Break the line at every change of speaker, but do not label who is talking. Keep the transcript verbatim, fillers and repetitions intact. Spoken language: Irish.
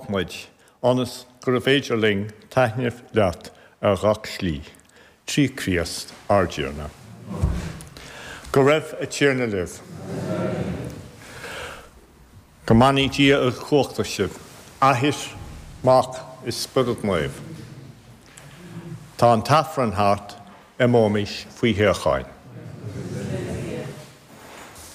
chách muid, ionas gurbh féidir linn taitneamh leat ar gach slí, trí Chríost ár dTiarna. Go raibh an Tiarna libh. Go mbeannaí Dia uilechumhachtach sibh, Athair, Mac is Spiorad Naomh. Tá an tAifreann thart, imeoimis faoi shíocháin.